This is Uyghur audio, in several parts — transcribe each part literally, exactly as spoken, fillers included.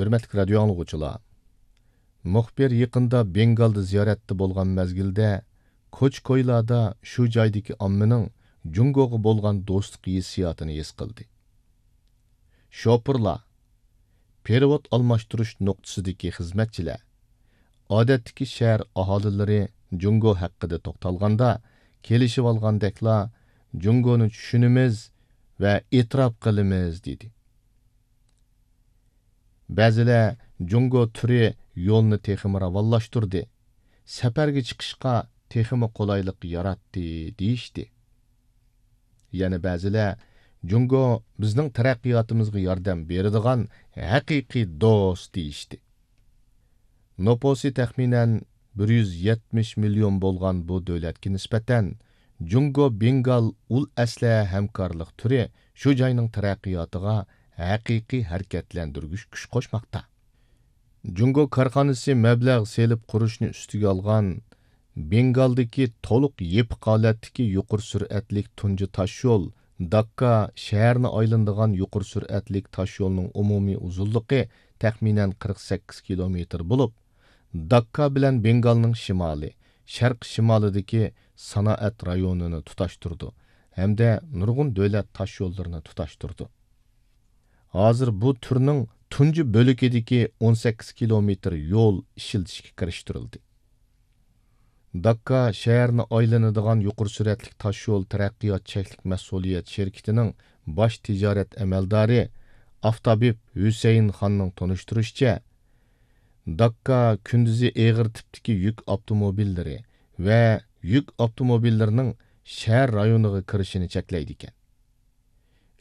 ھۆرمەتلىك رادىيو ئاڭلىغۇچىلار، مۇخبىر يېقىندا بېنگالدا زىيارەتتە بولغان مەزگىلدە، كوچا-كويلاردا شۇ جايدىكى ئاممىنىڭ جۇڭگوغا بولغان دوستلۇق ھېسسىياتىنى ھېس قىلدى. شوپۇرلار، پېرېۋوت ئالماشتۇرۇش نۇقتىسىدىكى خىزمەتچىلەر، ئادەتتىكى شەھەر ئاھالىلىرى جۇڭگو ھەققىدە توختالغاندا، كېلىشىۋالغاندەكلا، «جۇڭگونى چۈشىنىمىز ۋە ئېتىراپ قىلىمىز» دېدى. بەزىلەر، «جۇڭگو تۈرى يولنى تېخىمۇ راۋانلاشتۇردى، سەپەرگە چىقىشقا تېخىمۇ قولايلىق ياراتتى» دېيىشتى. يەنە بەزىلەر، «جۇڭگو بىزنىڭ تەرەققىياتىمىزغا ياردەم بېرىدىغان ھەقىقىي دوست» دېيىشتى. نوپۇسى تەخمىنەن بىر يۈز يەتمىش مىليون بولغان بۇ دۆلەتكە نىسبەتەن، جۇڭگو بېنگال ئۇل ئەسلىھە ھەمكارلىق تۈرى شۇ جاينىڭ تەرەققىياتىغا ھەقىقىي ھەرىكەتلەندۈرگۈچ كۈچ قوشماقتا. جۇڭگو كارخانىسى مەبلەغ سېلىپ قۇرۇشنى ئۈستىگە ئالغان بېنگالدىكى تولۇق يېپىق ھالەتتىكى يۇقىرى سۈرئەتلىك تۇنجى تاشيول، داككا شەھەرنى ئايلىنىدىغان يۇقىرى سۈرئەتلىك تاشيولنىڭ ئومۇمىي ئۇزۇنلۇقى تەخمىنەن قىرىق سەككىز كىلومېتىر بولۇپ، داككا بىلەن بېنگالنىڭ شىمالى، شەرقىي شىمالىدىكى سانائەت رايونىنى تۇتاشتۇرىدۇ ھەمدە نۇرغۇن دۆلەت تاشيوللىرىنى تۇتاشتۇرىدۇ. ھازىر بۇ تۈرنىڭ تۇنجى بۆلىكىدىكى ئون سەككىز كىلومېتىر يول ئىشلىتىشكە كىرىشتۈرۈلدى. داككا شەھەرنى ئايلىنىدىغان يۇقىرى سۈرئەتلىك تاشيول تەرەققىيات چەكلىك مەسئۇلىيەت شىركىتىنىڭ باش تىجارەت ئەمەلدارى ئافتابىپ ھۈسەيىن خاننىڭ تونۇشتۇرۇشىچە، داككا كۈندۈزى ئېغىر تىپتىكى يۈك ئاپتوموبىللىرى ۋە يۈك ئاپتوموبىللىرىنىڭ شەھەر رايونىغا كىرىشىنى چەكلەيدىكەن.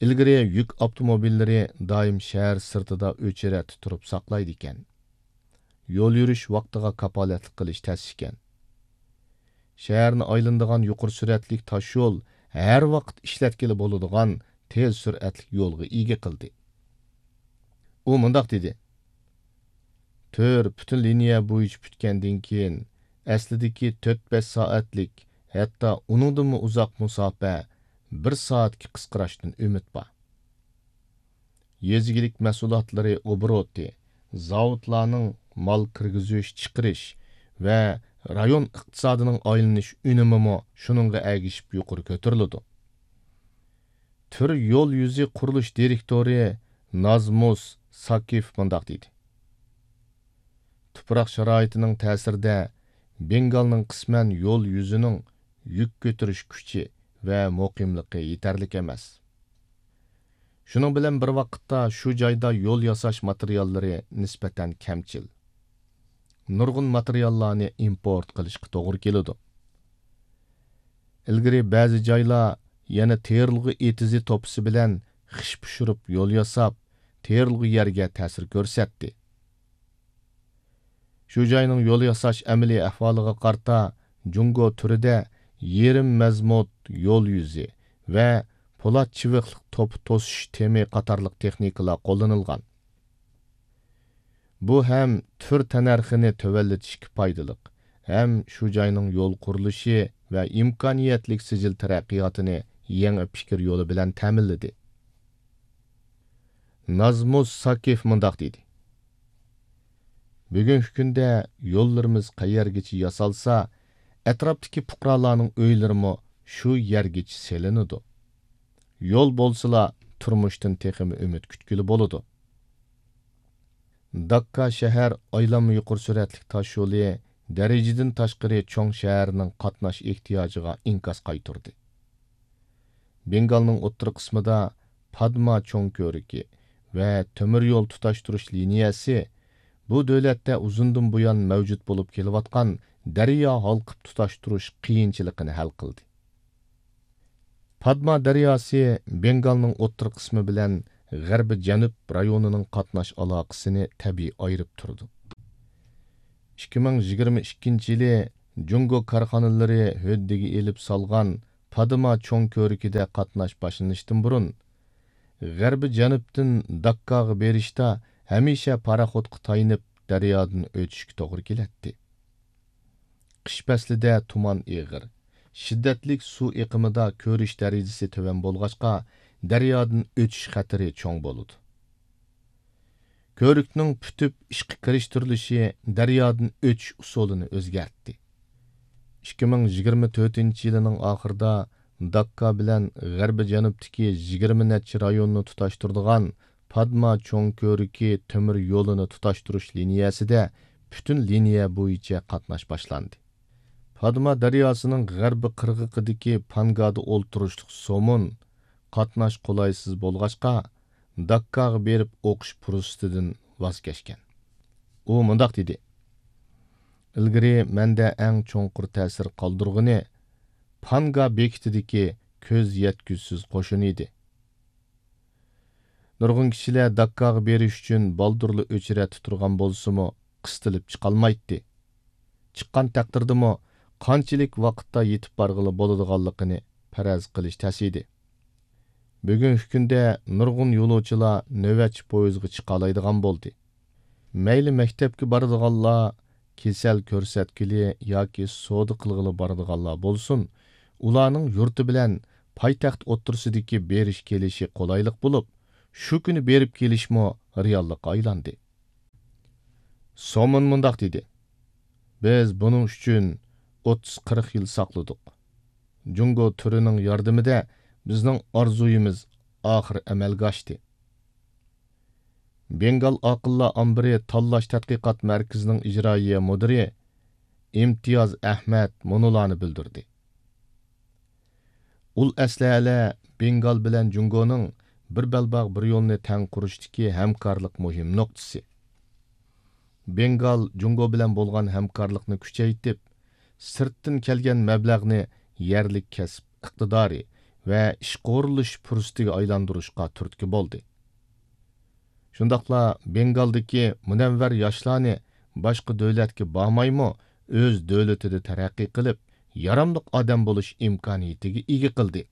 ئىلگىرى يۈك ئاپتوموبىللىرى دائىم شەھەر سىرتىدا ئۆچىرەتتە تۇرۇپ ساقلايدىكەن. يول يۈرۈش ۋاقتىغا كاپالەتلىك قىلىش تەس ئىكەن. شەھەرنى ئايلىنىدىغان يۇقىرى سۈرئەتلىك تاشيول ھەر ۋاقىت ئىشلەتكىلى بولىدىغان تېز سۈرئەتلىك يولغا ئىگە قىلدى. ئۇ مۇنداق دېدى: «تۈر پۈتۈن لىنىيە بويىچە پۈتكەندىن كېيىن، ئەسلىدىكى تۆت-بەش سائەتلىك، ھەتتا ئۇنىڭدىنمۇ ئۇزاق مۇساپە بىر سائەتكە قىسقىراشتىن ئۈمىد بار. يېزا ئىگىلىك مەھسۇلاتلىرى ئوبوروتى، زاۋۇتلارنىڭ مال كىرگۈزۈش، چىقىرىش ۋە رايون ئىقتىسادىنىڭ ئايلىنىش ئۈنۈمىمۇ شۇنىڭغا ئەگىشىپ يۇقىرى كۆتۈرۈلىدۇ.» تۈر يول يۈزى قۇرۇلۇش دىرېكتورى نازمۇس ساكىف مۇنداق دېدى: «تۇپراق شارائىتىنىڭ تەسىرىدە بېنگالنىڭ قىسمەن يول يۈزىنىڭ يۈك كۆتۈرۈش كۈچى ۋە مۇقىملىقى يېتەرلىك ئەمەس. شۇنىڭ بىلەن بىر ۋاقىتتا، شۇ جايدا يول ياساش ماتېرىياللىرى نىسبەتەن كەمچىل. نۇرغۇن ماتېرىياللارنى ئىمپورت قىلىشقا توغرا كېلىدۇ. ئىلگىرى بەزى جايلار يەنە تېرىلغۇ ئېتىزى توپىسى بىلەن خىش پىشۇرۇپ يول ياساپ، تېرىلغۇ يەرگە تەسىر كۆرسەتتى. شۇ جاينىڭ يول ياساش ئەمەلىي ئەھۋالىغا قارىتا، جۇڭگو تۈرىدە يېرىم مەزمۇت يول يۈزى ۋە پولات چىۋىقلىق توپا توسۇش تېمى قاتارلىق تېخنىكىلار قوللىنىلغان. بۇ ھەم تۈر تەننەرخىنى تۆۋەنلىتىشكە پايدىلىق، ھەم شۇ جاينىڭ يول قۇرۇلۇشى ۋە ئىمكانىيەتلىك سىجىل تەرەققىياتىنى يېڭى پىكىر يولى بىلەن تەمىنلىدى.» نازمۇس ساكىف مۇنداق دېدى: «بۈگۈنكى كۈندە يوللىرىمىز قەيەرگىچە ياسالسا، ئەتراپتىكى پۇقرالارنىڭ ئۆيلىرىمۇ شۇ يەرگىچە سېلىنىدۇ. يول بولسىلا، تۇرمۇشتىن تېخىمۇ ئۈمىد كۈتكىلى بولىدۇ.» داككا شەھەر ئايلانما يۇقىرى سۈرئەتلىك تاشيولى دەرىجىدىن تاشقىرى چوڭ شەھەرنىڭ قاتناش ئېھتىياجىغا ئىنكاس قايتۇردى. بېنگالنىڭ ئوتتۇرا قىسمىدا پادما چوڭ كۆۋرۈكى ۋە تۆمۈر يول تۇتاشتۇرۇش لىنىيەسى بۇ دۆلەتتە ئۇزۇندىن بۇيان مەۋجۇت بولۇپ كېلىۋاتقان دەريا ھالقىپ تۇتاشتۇرۇش قىيىنچىلىقىنى ھەل قىلدى. پادما دەرياسى بېنگالنىڭ ئوتتۇرا قىسمى بىلەن غەربىي جەنۇب رايونىنىڭ قاتناش ئالاقىسىنى تەبىئىي ئايرىپ تۇرىدۇ. ئىككى مىڭ يىگىرمە ئىككىنچى يىلى جۇڭگو كارخانىلىرى ھۆددىگە ئېلىپ سالغان پادما چوڭ كۆۋرۈكىدە قاتناش باشلىنىشتىن بۇرۇن، غەربىي جەنۇبتىن داككاغا بېرىشتا ھەمىشە پاراخوتقا تايىنىپ دەريادىن ئۆتۈشكە توغرا كېلەتتى. قىش پەسلىدە تۇمان ئېغىر، شىددەتلىك سۇ ئېقىمىدا كۆرۈش دەرىجىسى تۆۋەن بولغاچقا، دەريادىن ئۆتۈش خەتىرى چوڭ بولىدۇ. كۆۋرۈكنىڭ پۈتۈپ ئىشقا كىرىشتۈرۈلۈشى دەريادىن ئۆتۈش ئۇسۇلىنى ئۆزگەرتتى. ئىككى مىڭ يىگىرمە تۆتىنچى يىلىنىڭ ئاخىرىدا داككا بىلەن غەربىي جەنۇبتىكى يىگىرمە نەچچە رايوننى تۇتاشتۇرىدىغان پادما چوڭ كۆۋرۈكى تۆمۈر يولىنى تۇتاشتۇرۇش لىنىيەسىدە پۈتۈن لىنىيە بويىچە قاتناش باشلاندى. پادما دەرياسىنىڭ غەربىي قىرغىقىدىكى پانگادا ئولتۇرۇشلۇق سومون قاتناش قولايسىز بولغاچقا، داككاغا بېرىپ ئوقۇش پۇرسىتىدىن ۋاز كەچكەن. ئۇ مۇنداق دېدى: «ئىلگىرى مەندە ئەڭ چوڭقۇر تەسىر قالدۇرغىنى پانگا بېكىتىدىكى كۆز يەتكۈسىز قوشۇن ئىدى. نۇرغۇن كىشىلەر داككاغا بېرىش ئۈچۈن بالدۇرلا ئۆچرەتتە تۇرغان بولسىمۇ، قىستىلىپ چىقالمايتتى. چىققان تەقدىردىمۇ، قانچىلىك ۋاقىتتا يېتىپ بارغىلى بولىدىغانلىقىنى پەرەز قىلىش تەس ئىدى. بۈگۈنكى كۈندە نۇرغۇن يولۇچىلار نۆۋەتچى پويىزغا چىقالايدىغان بولدى. مەيلى مەكتەپكە بارىدىغانلار، كېسەل كۆرسەتكىلى ياكى سودا قىلغىلى بارىدىغانلار بولسۇن، ئۇلارنىڭ يۇرتى بىلەن پايتەخت ئوتتۇرىسىدىكى بېرىش كېلىشى قولايلىق بولۇپ، شۇ كۈنى بېرىپ كېلىشمۇ رېئاللىققا ئايلاندى.» سومون مۇنداق دېدى: «بىز بۇنىڭ ئۈچۈن ئوتتۇز قىرىق يىل ساقلىدۇق. جۇڭگو تۈرىنىڭ ياردىمىدە بىزنىڭ ئارزۇيىمىز ئاخىر ئەمەلگە ئاشتى.» بېنگال ئاقىللار ئامبىرى تاللاش تەتقىقات مەركىزىنىڭ ئىجرائىيە مۇدىرى ئىمتىياز ئەھمەد مۇنۇلارنى بىلدۈردى: ئۇل ئەسلىھەلەر بېنگال بىلەن جۇڭگونىڭ بىر بەلباغ بىر يولنى تەڭ قۇرۇشتىكى ھەمكارلىق مۇھىم نۇقتىسى. بېنگال جۇڭگو بىلەن بولغان ھەمكارلىقنى كۈچەيتىپ، سىرتتىن كەلگەن مەبلەغنى يەرلىك كەسىپ ئىقتىدارى ۋە ئىشقا ئورۇنلىشىش پۇرسىتىگە ئايلاندۇرۇشقا تۈرتكە بولدى. شۇنداقلا بېنگالدىكى مۇنەۋۋەر ياشلارنى باشقا دۆلەتكە بارمايمۇ، ئۆز دۆلىتىدە تەرەققىي قىلىپ، ياراملىق ئادەم بولۇش ئىمكانىيىتىگە ئىگە قىلدى.